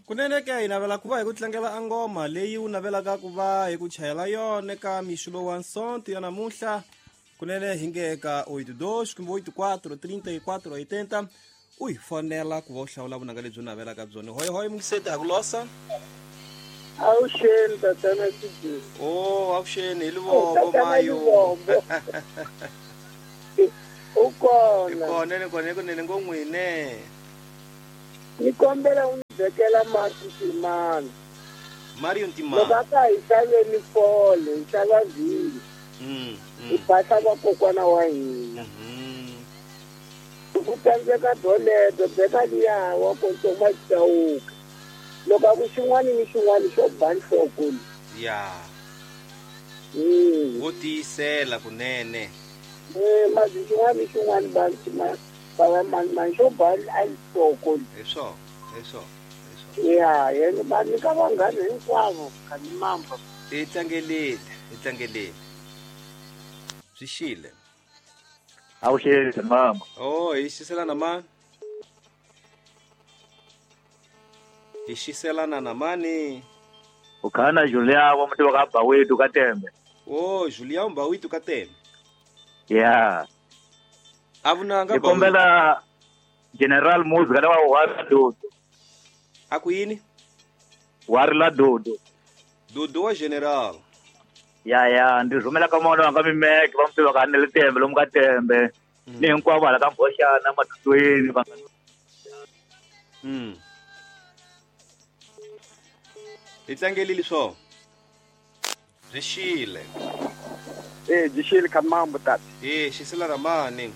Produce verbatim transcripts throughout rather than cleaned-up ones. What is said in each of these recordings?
Kunene ke hi navela ku va hi ku tlangela angoma leyi u navelaka ku va hi ku chayela yona eka mixo lowu wa Sonto ya namuntlha. Kunene hi nge eka oito dois kumbe oito quatro trinta e quatro oitenta u hi fonela ku va u hlawula vunanga lebyi u navelaka byona. Hoyi hoyi mungiseti ha ku losa. Avuxeni tatana Sibisi. Oh, avuxeni hi Livombo mayo. U kona. Kona ni kona kunene ngo n'wine. Ni kombela u ni vekela mati Ntimani. Mario Ntimani. Loko a ka hi xaveni fole, hi xava vhinyo. Mm. Hi phahla vakokwana wa hina. Ku tsandzeka doleto, beka liya wa kotsoma xitawuka. Loko a ku xin'wana ni xin'wana xo ba nhloko. Ya. Mm. Wo tiyisela kunene. Eh, mati xin'wana ni xin'wana ba ntima. Baba mani mani xo ba nhloko. Hi swona, hi swona, hi swona. Ya, yena va nyika vanghana hinkwavo Khanimamba. Hi tlangelile, hi tlangelile. Swi xile. Avuxeni mama. Oh, hi xiselana mani? Hi xiselana na mani? U khana Julia wa muti wa ka Bawetu ka Tembe. Oh, Julia Mbawitu ka Tembe. Yeah. Avunanga Ni kombela General Muzi kana wa wa Dodo. A ku yini? Wa ri la Dodo. Dodo wa General. Ya ya, ndzi rhumela ka mona wanga mimeke va muti wa ka Nele Tembe lomu ka Tembe. Ni hinkwavo hala ka Mboxana Matutweni va. Mm. Hi tlangelile swona. Byi xile. Eh, byi xile Khanimambo tata. Eh, xisela ramani.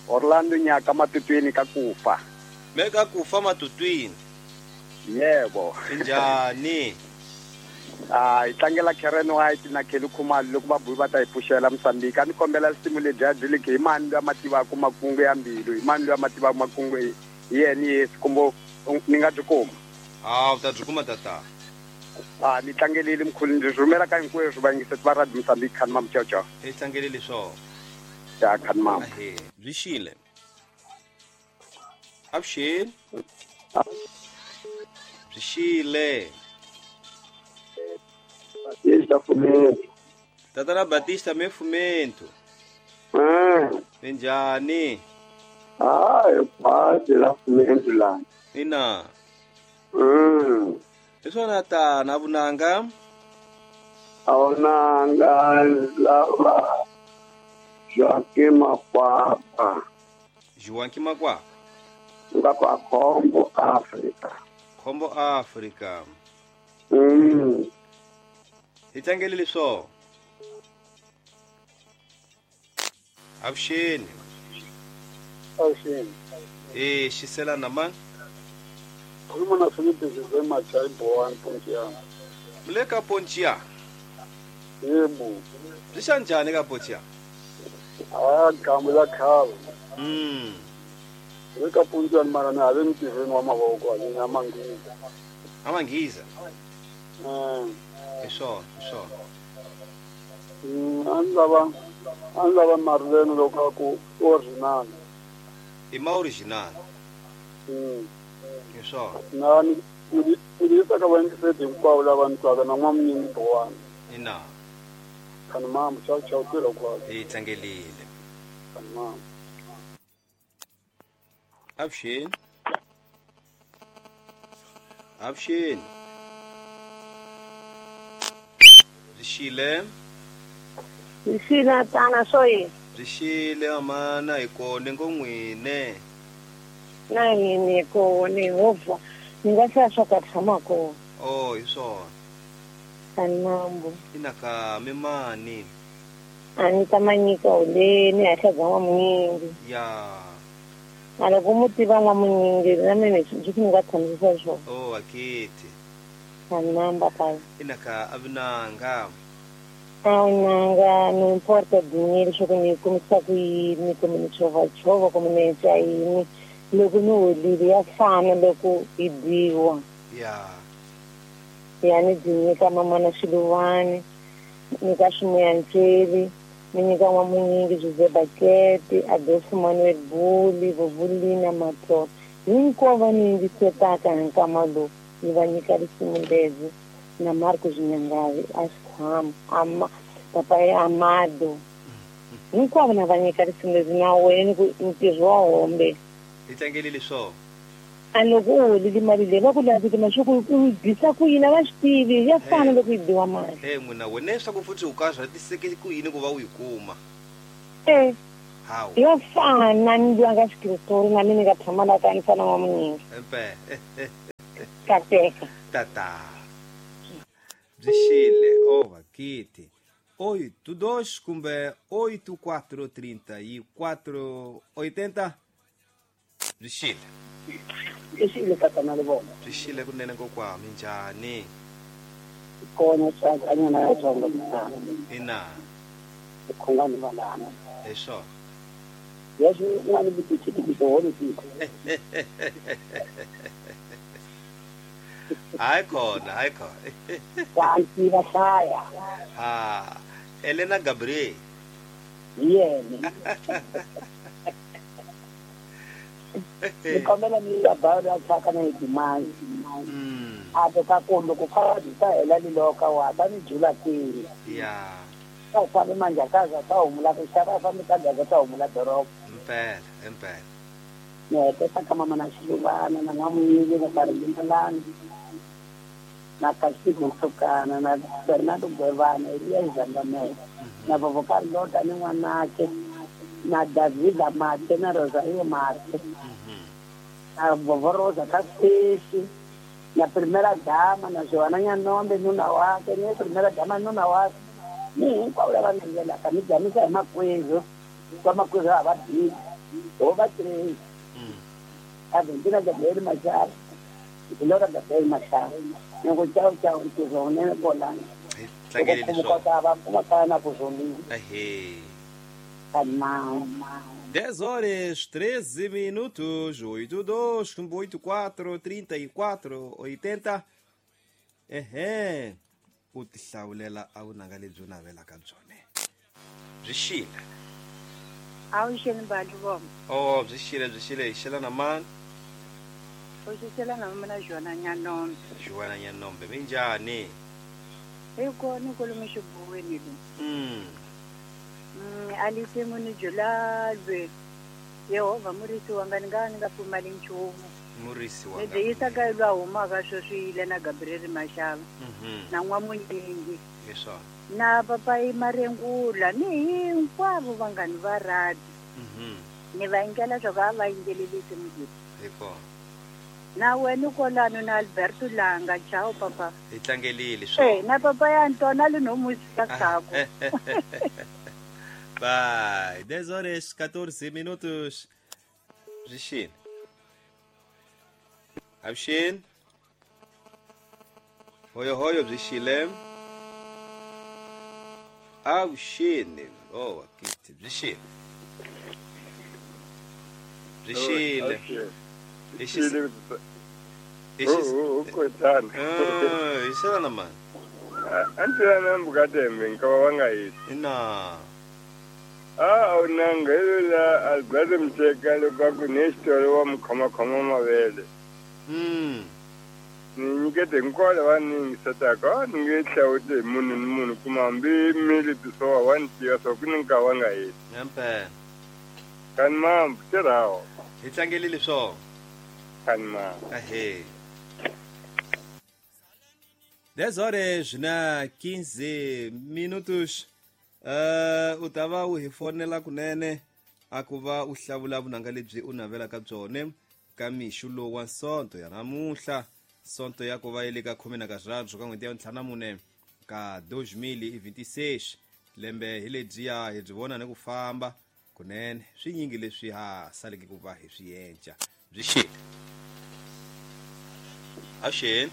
Orlando Nyaka Matutweni ka kufa. Me ka kufa Matutwini. Yebo. Njhani? Ah, hi tlangela Karen White na Kelly Khumalo loko va buyi va ta hi pfuxela Mozambique. A ni kombela risimu lebyiya byi le hi mani loyi a ma tivaka makungu ya mbilu, hi mani loyi a ma tivaka makungu hi yena Yesu kumbe ni nga byi kuma. Ah, u ta byi kuma tata. Ah, ni tlangelile mkhulu, ndzi rhumela ka hinkweswo vayingiseti va Radio Mozambique Khanimambo ciao ciao. Hi tlangelile swona. Ya Khanimambo. Ahe, byi xile. Avuxeni. Byi xile. Batista Fumento. Tatana Batista me Fumento. Eh. Minjhani? Hayi, khwati la Fumento la. Ina. Mm. Hi swona tana vunanga? Awunanga lava Joaquim Makwapa. Joaquim Makwapa. Nga kwa Khombo Africa. Khombo Africa. Mm. Hi tlangelile swona. Avuxeni. Avuxeni. Eh, xiselana mani? Khuluma na Filipe José Machai Boan Pontiana. Mle ka Pontiana. Yebo. Byi xa njhani ka Pontiana? Ah, gamu la khale. Mm. Le ka Pontiana mara na le ntirhweni wa mavoko a ni Manghiza. A Manghiza. Mm. Hi swona, hi swona. Mm, a ni lava a ni lava Marlene loko a ku original. I ma original. Mm. Hi swona. Na ni ni yisa ka vayingiseti hinkwavo lava ni twaka na n'wamunyingi Bowana. Ina. Khanimambo ciao ciao tirha kwalo. Hi tlangelile. Khanimambo. Avuxeni. Avuxeni. Byi xile. Byi xile tana swo yini? Byi xile mamana hi kona ngo n'wine. Na hina hi kona hovha ni nga hlaya swa ka tshama kona. Oh, hi swona. Khanimambo. Ina ka mimani. A ni ta manyika holeni ha bya n'wamunyingi. Ya. A loko mu tiva n'wamunyingi na mina swi ni nga tshamisisa swona. Oh, akiti. Khanimamba pai. Ina ka avunanga. Awunanga no importa dinheiro swo ku ni kumisa ku yini kumbe ni chovachova kumbe ni etsa yini loko ni holile ya fana loko yi dyiwa. Ya. Ya ni byi nyika mamana Xiluvani, nyika Ximuyantsweli, ni nyika n'wamunyingi Jose Bakete, Adolfo Manuel Buli, Vovulina Matlolo. Hinkwavo va ni yingisetaka hi nkama lowu. Ni va nyika risimu lezi na Marcos Nyangavi a xikhwama ama papa ya Amado hinkwavo na va nyika risimu lezi na wena ku ntirho wa hombe hi tlangelile swona a loko u holile mali leyi va ku lavile mashuku u bisa ku yini a va swi tivi ya fana loko yi biwa mali e n'wina wena leswaku futhi u karhatiseke ku yini ku va u yi kuma e hawu ya fana ni lwa nga xikritori na mina ni nga tshama la ka ni fana wa munyingi empe kateka tata byi xile ova kiti oito dois kumbe oito quatro trinta e quatro oitenta byi xile byi xile tatana le vona byi xile kunene kokwa minjhani kona tsakanyana ya tsonga mutana ina khongani valana hi swona leswi u nga ni vutitivisi holo tiko hayi khona hayi khona vanti va hlaya ha Elena Gabriel hi yena ni kombela ni ya bawula ya thyaka na hidimani a to ka ku loko khadi ta hela liloka wa ta ni jula kwini ya ta fambi manjakaza ta humula ku xava fambi ka gaza ta humula doroba impela impela ni heteta ka mama na xiluvana na n'wamuyili na karilimalani na Kasiku Msukana na Bernardo Gwevana Elias Zangamela na Vovo Carlota ni n'wanake na Davida Mate na Rosario Mate na Vovo Rosa Kasesi na Primera Dama na Joana Nyanombe nuna wake ni Primera Dama nuna wake ni hinkwavo lava nangelaka ni jamisa hi makwezo va makwezo a va bizi ho va trei Argentina Gabriel Machado Laura Gabriel Machado loko chao chao ntirho wunene kolani hi tlangelile swona kota va kuma kaya na ku zolile ehe kanma dez horas treze minutos oito dois oito quatro trinta e quatro oitenta ehe u tihlawulela a wu nanga lebyi u navelaka byona byi xile a wu xeni bali vona oh byi xile byi xile hi xela na mani u xixela na mina Joana Nyanombe Joana Nyanombe minjhani hi kona kwalomu xibuweni lo mm mm alisimu ni julalwe Yehovha murisi wanga ni nga ni nga pfumali nchumu murisi wanga lebyi yisaka lwa humaka sweswi yile na Gabriel Mashava mhm na n'wamunyingi hi swona na papayi Marengula ni hinkwavo vanghani va radi mhm ni va yingela swa ku a va yingelelisi mudini hi kona na wena kolano na Alberto Langa chao papa hi tlangelile eh swona na papa ya Antona le no musika tsako Vai, dez horas quatorze minutos. Byi xile avuxeni hoyo hoyo byi xile avuxeni oh kiti byi xile byi xile hi xi hi xi kotana ah hi xela na mani antilana mbukatembe nkava va nga hisi ina a wu nanga la Alberto Mtsheka loko a ku ni xitolo wa mukhomakhoma mavele mm ni nyikete hinkwavo lava ni yingisetaka a ni nge hlawuti hi munhu ni munhu kuma hambi mili bisowa wa ni tiva swa ku ni nkarhi wa nga heti impela kani mambu tirhawo hi tlangelile swona kani mambu ahe dez horas na quinze minutos uh, u ta va u hi fonela kunene a ku va u hlawula vunanga lebyi u navelaka byona ka mixo lowu wa sonto ya namuntlha sonto ya ku va yi le ka khume na karharhu ka n'hweti ya ntlhanu na mune ka dois mil e vinte e seis lembe hi lebyiya hi byi vona ni ku famba kunene swinyingi leswi ha saleke ku va hi swi endla byi xile avuxeni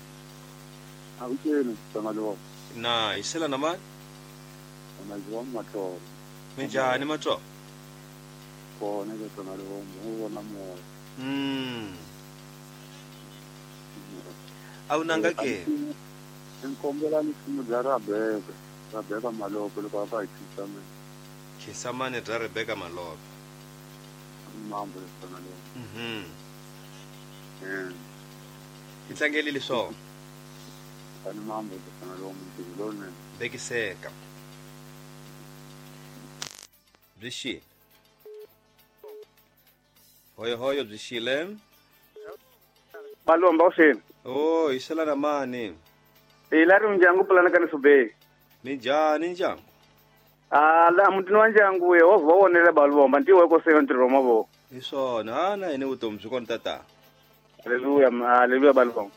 avuxeni tsonga na hi xela na mani maziwa Matsolo minjhani Matsolo kona ke tsonga u vona moya mm a wu nanga ke ni kombela nsimu bya Rebeka Rebeka Malope loko a va hi khisamani khisamani bya Rebeka Malope mambo tsonga mhm mm Hi tlangelile swona. Tani mambo tifana lowu mutini lowunene. Bekiseka. Byi xile. Hoyo hoyo byi xile. Balomba usini. Oh, hi xela na mani. Hi la ri ndyangu pulana ka nisubei. Minjhani ndyangu? Ah, la mutini wa ndyangu Yehovha wa wonele balomba ntiwe ko seyo ntirho wa mavoko. Hi swona, ha na hina vutomi byi kona tata. Haleluya, haleluya balomba.